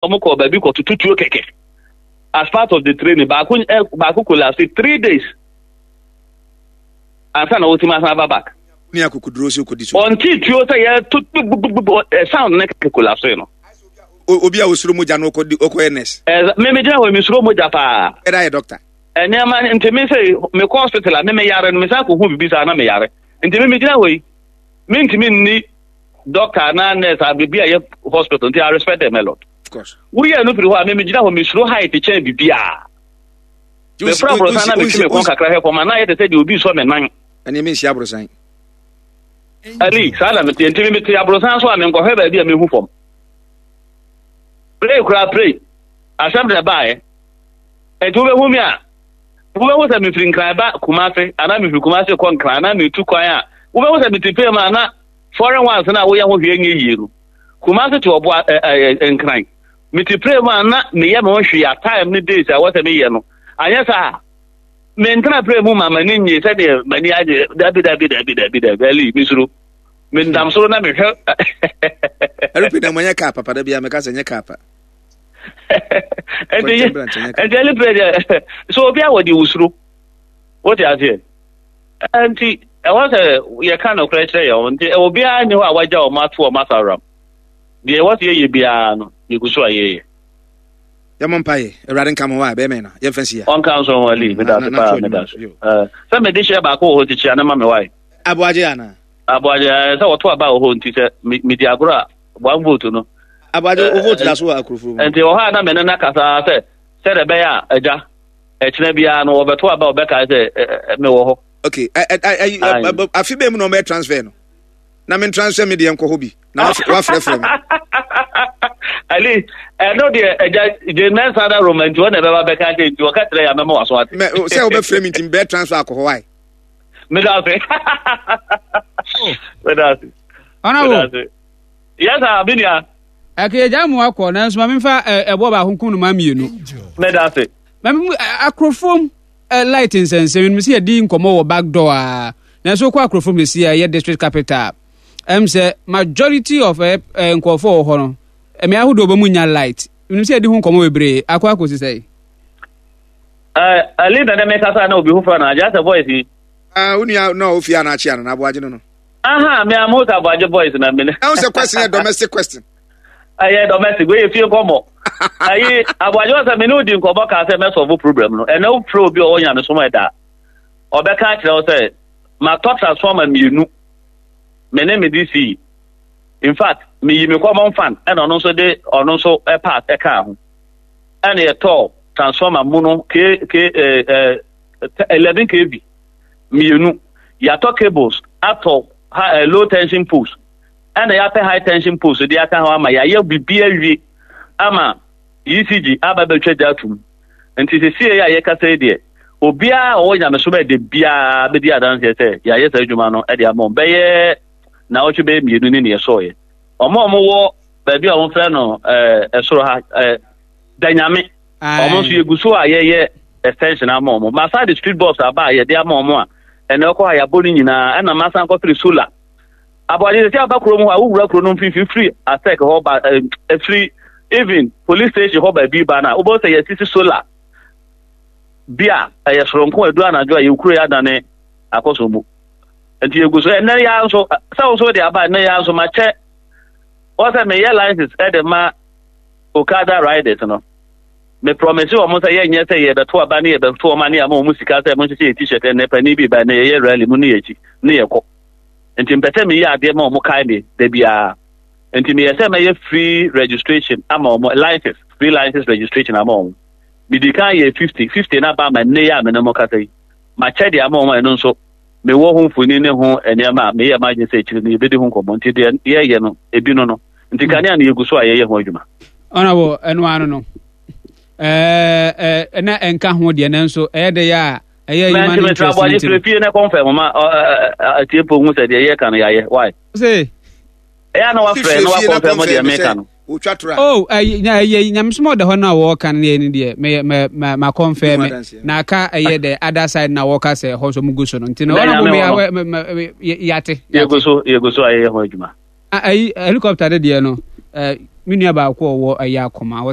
Wɔn kɔ baabi kɔ tutu tuo kɛkɛ as part of the training. Baako ɛ baako collapse 3 days ansa na wɔtumi asan aba back. Ne akokoduro sɛ okodi so. Ɔnte tuo sɛ yɛ to gbogbogbò ɛ sound ne kɛkɛ collapse no. Obi a osuro mogya no okɔ okɔyɛ nurse. Ɛ mímí gyina hɔ, mi suro mogya paa. Ɛda yɛ doctor. Nneɛma nti mi sɛ mi kɔ hospital a, mi yare no, mi san kɔ hu bibi saa na mi yare, nti mi gyina hɔ yi, mi ntumi nni doctor anaa nurse a bibi a yɛ hospital, nti I respect them a lot. Of course. Woyɛ no firi hɔ a, mi gyina hɔ, mi suro height kyɛn bibiaa. Mefra aborosan na metwe me kɔn kakra hwɛ fam a, na ayɛ te sɛ deɛ obi sɔ me nan. Ɛne me nhyia aborosan. Ali, saa na meteɛ, nti mete aborosan so a, menkɔhwɛ baabi a mehu fam. Pray koraa pray. Asɛm na ɛbaeɛ. Nti wobɛhu me a, wobɛhu sɛ mefiri Nkran ba Kumase anaa mefiri Kumase kɔ Nkran anaa metu kwan a, wobɛhu sɛ mete pay mu a, na foreign ones na woyɛ ho hwee nyɛ yie no. Kumase to ɔboa ɛ ɛ Nkran. Mete pray mu a, na meyɛ me ho hwee a, time ne days a wɔsɛ meyɛ no. Anyɛ saa, mentena pray mu ma m'ani nye sɛdeɛ m'ani agye. Dabi, dabi, dabi, dabi, dabi, Ali, mesuro. Menam soro na mehwɛ. Aeroplane na mo nyɛ kaa papa da bi a meka sɛ nyɛ kaa pa. Nti ɛne pɛ deɛ so obi a wɔde wosuro wote aseɛ, nti ɛwɔ sɛ yɛka nokorɛ kyerɛ yɛn ho, nti obiara nni hɔ a wagya wɔn ato wɔn asaworam. Deɛ ɛwɔ sɛ yɛyɛ biara no, yɛgu so a yɛyɛ. Yɛmmɔ mpaeɛ. Awurade nka mo hɔ a bɛrima na yɛmfa nsi ya. Ɔnka nso ho, Ali, meda ase paa, meda ase. Sɛ mede hyɛ baako wɔ hɔ tikyi a ne ma me wae. Aboagye anaa? Aboagye, sɛ wɔto aba wɔ hɔ, nti sɛ medi agorɔ a, one vote no. Aboagye, wo vote da so wɔ akurofo mu. Nti wɔ hɔ a na mene no akasa sɛ sɛdeɛ ɛbɛyɛ a agya ɛkyena biara no wɔbɛto aba a, wɔbɛkae sɛ mewɔ hɔ. Okay, afi bɛn mu na wɔbɛyɛ transfer no? Na me transfer me deɛ nkɔ hɔ bi na wafrɛfrɛ me. Ali, ɛno deɛ agya gye mɛnsa da Roma, nti wɔn na ɛbɛba bɛka kyerɛ, nti wɔka kyerɛ yɛ amɛma waso ate. Mɛ sɛ wobɛfrɛ me nti mbɛyɛ transfer akɔ hɔ wae. Meda ase. Meda ase. Honorable. Meda ase. Yes, ah, me nua. Ɛkè gya mu akɔ, nanso ma memfa ɛboɔ baako nkum no ma mmienu. Meda ase. Ma memu akorofom light nsɛnsɛm no sɛ yɛdi nkɔmmɔ wɔ back door a, nanso wokɔ akorofom sɛsi a ɛyɛ district capital, ɛm sɛ majority of nkurɔfoɔ wɔ hɔ no, mmea ahodoɔ bɛ mu nya light. Menim sɛ yɛdi ho nkɔmmɔ bebree akɔ akɔsi sɛ. Ali na ne mekasa na obi foforɔ na agya sɛ voice yi. Ah, wo nua na ofie a na akyea no na aboagye no no. Aha, me am host aboagye voice na me. Ɛho sɛ question yɛ domestic question. Ɛyɛ domestic, wei yɛ fie nkɔmmɔ. Ayi, aboagye wɔ sɛ me ne wodi nkɔmmɔ kaa sɛ mɛsɔfo problem no. Ɛnɛ wofrɛ obi a ɔwɔ nyamesom ɛda. Ɔbɛka akyerɛ wo sɛ matɔ transformer mmienu. Me ne me DC. In fact, meyi me common fund ɛna ɔno nso de ɔno nso part ɛkaa ho. Ɛna yɛtɔɔ transformer mu no k k eh, 11 kV mmienu. Yɛatɔ cables, atɔ ha, low tension poles, ɛna yɛapɛ high tension poles de aka ho ama yɛayɛ biribi awie ama ECG aba bɛtwa gya atum. Nti sesie a yɛkasa yi deɛ, obiara a ɔwɔ nyamesom a ɛde biara bɛdi adanseɛ sɛ yɛayɛ saa adwuma no de ama wɔn. Bɛyɛ naawɔtwe bɛyɛ mmienu ne neɛ ɛsɔɔyɛ. Wɔn a wɔwɔ baabi a wɔfrɛ no ɛsoro ha Danyame, wɔn nso yɛgu so a yɛyɛ extension ama wɔn. Masa de street box aba a yɛde ama wɔn a ɛnna ɛkɔ a yɛabɔ no nyinaa, ɛna masan kɔfiri solar. Aboagye sɛ aba kurom hɔ a, wowura kuro no mfimfini firi asɛk hɔ ba, ɛfiri even police station hɔ baabi ba no a, wobɛhu sɛ yɛasisi solar bi a ɛyɛ soronko. Ɛdu anadwo a, yɛkuro yɛ adane akɔsɔ mu. Nti yɛgu so. Ɛnɛ yɛ nso sɛ wo nso de aba, ɛnɛ yɛ nso makyɛ wɔ sɛ meyɛ license ɛde ma Okada riders no. Me promise wɔn sɛ yɛnyɛ sɛ yɛbɛto aba ne yɛbɛto wɔn ne ama wɔn sika sɛ mo nhyehyɛ yɛ t-shirt. Ɛnɛ panin bi ba, ɛnɛ yɛyɛ rally mu ne yɛkyi ne yɛkɔ, nti mpɛ sɛ meyɛ adeɛ ma wɔn kae me da biara, nti meyɛ sɛ mɛyɛ free registration ama wɔn, license, free license registration ama wɔn. Medi kan yɛ 50 50 na ba ama nnɛ yi a me ne mo kasa yi, makyɛ de ama wɔn. Ɛno nso mewɔ ho mfoni ne ho nneɛma a meyɛ m'adwene sɛ akyire no yɛbɛdi ho nkɔmmɔ, nti deɛ yɛyɛ no ebi no, nti kanea no yɛgu so a yɛyɛ ho adwuma. Honorable, ɛno ano no ɛɛ ɛna ɛnka ho deɛ, nanso ɛyɛ de yɛ a ɛyɛ human interest. Nti mesrɛ fie na kɔmfɛ moma atiepo hu sɛ deɛ yɛka no yɛayɛ why. Sɛ ɛyɛ na wafrɛ na wakɔmfɛ mo deɛ meka no. Oh, ɛyɛ ɛyɛ nyamesom ɔda hɔ no a wɔka no yɛ no deɛ, mɛ mɛ mɛ ma kɔnfɛ me na aka ɛyɛ the other side na wɔka sɛ ɛhɔ nso mo gu so no, nti no ɔno mo mɛ mɛ yate. Yɛgu so a yɛyɛ ho adwuma. Ayi helicopter de deɛ no, me nua baako a ɔwɔ ɛyɛ akoma wɔ.